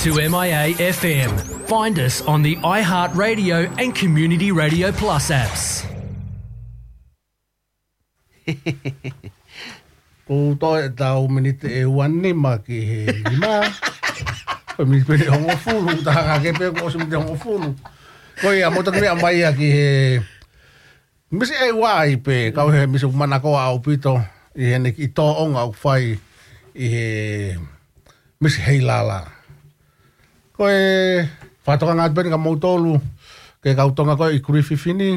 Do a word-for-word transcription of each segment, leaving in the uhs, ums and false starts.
To M I A F M. Find us on the iHeartRadio and Community Radio Plus apps. Ko u toe tau miniti ʻe uanima ki he nima. Ko e miniti pē ʻe hongofulu, tā ka ke pē ko ʻosi miniti ʻe hongofulu. Ko ia, mou toki meʻa mai ia ki he Misi ʻEuai pē, kau he misi ʻoku manakoa ʻaupito, ʻi heʻene kiʻi tōʻonga ʻoku fai ʻi he misi heilala. Ko e fakatokanga atu pē eni kia moutolu, ke kau Tonga ko ē ʻi Kilififi ni,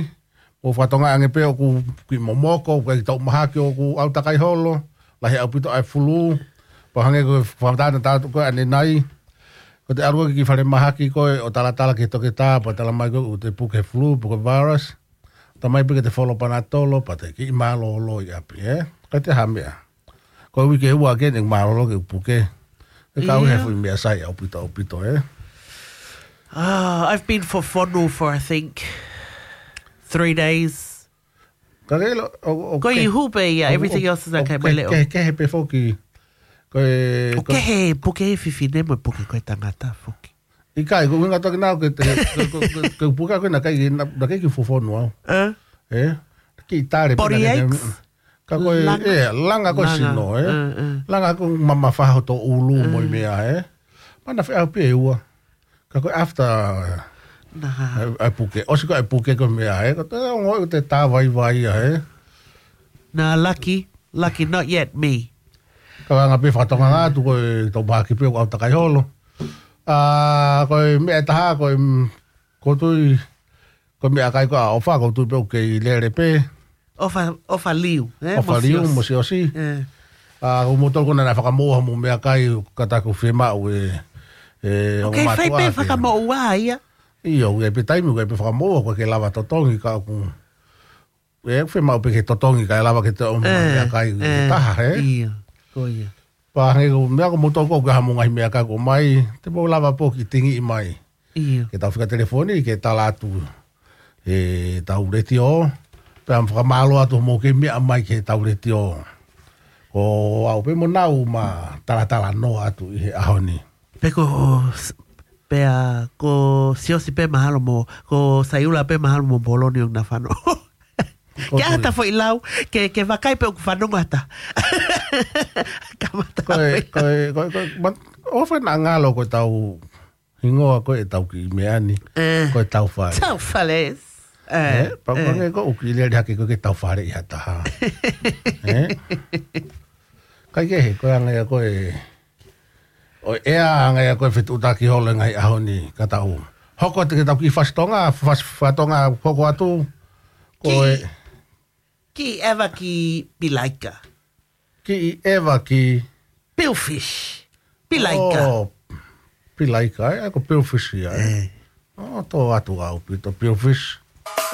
mou fakatokangaʻi ange pē ʻoku kiʻi momoko, ʻoku ʻikai ke tau mahaki ʻoku ʻau takai holo, lahi ʻaupito ʻa e fulū, pea hangē ko e fakatātā atu ko ē ʻanenai, ko ʻete ʻalu ko ē ki he fale mahaki ko ē ʻo talatala ki he toketā, pea tala mai ko ē ʻoku te puke he fulū, puke virus, tā mai pē ke te folo panatolo, pea te kiʻi mālōlō ʻi ʻapi, ē? ʻIkai te ha meʻa. Ko e uike ua ke ne mālōlō ke u puke. Ke kau he Ia. fuʻu meʻa sai ʻaupito, ʻaupito, ē? Ah, I've been for fonu for, I think, three days. Ka ke lo, o, o Ko ke, i hupe ia, o, everything o, else is o okay, ke, mo e leʻo. ke, ke he pē foki. Ko e, ʻO ko ke he puke he fefine mo e puke ko e tangata foki. ʻIkai, ko e ʻuhinga toki nau ke te, ke, ke, ke, ke puke ko ē naʻe ʻikai, na, naʻe ʻikai ke u fofonu au. Ē? Ē? Kiʻi tale pē Body naʻe ʻikai ke, aches? ka ko e, Langa? ē, langa ko e Langa. sino, ē? Ē, ē. Langa ko e mamafa hoto ʻulu mo e Ē. meʻa, ē? Mana feʻauhi pē ʻe ua. Ka ko e after, Nā. ʻa e, ʻa e puke. ʻOsi ko ē ʻa e puke ko e meʻa, ē? Ko te ongo te tā vaivai ia, ē? Nā, lucky, lucky, not yet me. Ka anga pē fakatokanga atu ko e tau mahaki pē ʻoku ʻau takai holo. ʻA, ko e meʻa ʻe taha, ko e, mm, ko tui, ko e meʻakai ko ē ʻa ʻOfa, ko tui pē ʻoku kei lele pē. ʻOfa, ʻOfa Liu, ē? ʻOfa Mo Liu, Siosi. mo Siosi. Ē. ʻA, ko moutolu ko ē naʻe fakamoʻua mo meʻakai, ka ta ko fiemaʻu ē, ē, ʻOku ʻo kei fai mātuʻa pē ke fakamoʻua ia. ʻIo, ʻoku ʻi ai pē taimi, ʻoku ʻi ai pē fakamoʻua, ʻoku ʻikai ke lava totongi ka ʻoku. ʻE, ʻoku fiemaʻu pē ke totongi, kae lava ke te ʻomai Ē, meʻakai ē, taha, ē? ʻIo, ko ia. Pea hangē ko e meʻa ko moutolu ko ē ʻoku ʻi ai hamou ngaahi meʻakai ʻoku ʻomai, te mou lava pē ʻo kiʻi tingiʻi mai. ʻIo. Ke tau fika telefoni, ke tala atu ʻetau letiō. Pea mo fakamālō atu hoʻomou kei meʻa mai ki heʻetau letiō. Ko au pē mo Nau ma talatalanoa atu ʻi he ʻaho ni. Pe ko, pea ko Siosi pē mahalo mo, ko Saiula pē mahalo mo Poloni ʻoku na fano. Ko Kia tui. ta foʻi lau, ke, ke vakai pē ʻoku fanongo ata. Kamata Ko e, pē. ko e, ko e, ko e, ma, ʻofa naʻa ngalo ko ʻetau hingoa ko ē ʻetau kiʻi meʻa ni, Ē. ko e Taufale. Taufale. Ē, Ē, pea ē. ko ē ko ʻoku kiʻi lele hake ko ē ke Taufale ʻi ha taha. Ē? ʻIkai ke he, ko e anga ia ko e, ʻo e anga ia ko e fetuʻutaki holo e ngaahi ʻaho ni ka tau. Hoko atu ke tau kiʻi fasi Tonga, fasi fakatonga hoko atu. Ko Kiʻi, e kiʻi ʻeva ki Pilaika. Kiʻi ʻeva ki Pilfish. Pilaika. Oh, Pilaika, ē? Ko Pilfish ia, ē? Ē. Oh, tō atu ʻaupito Pilfish.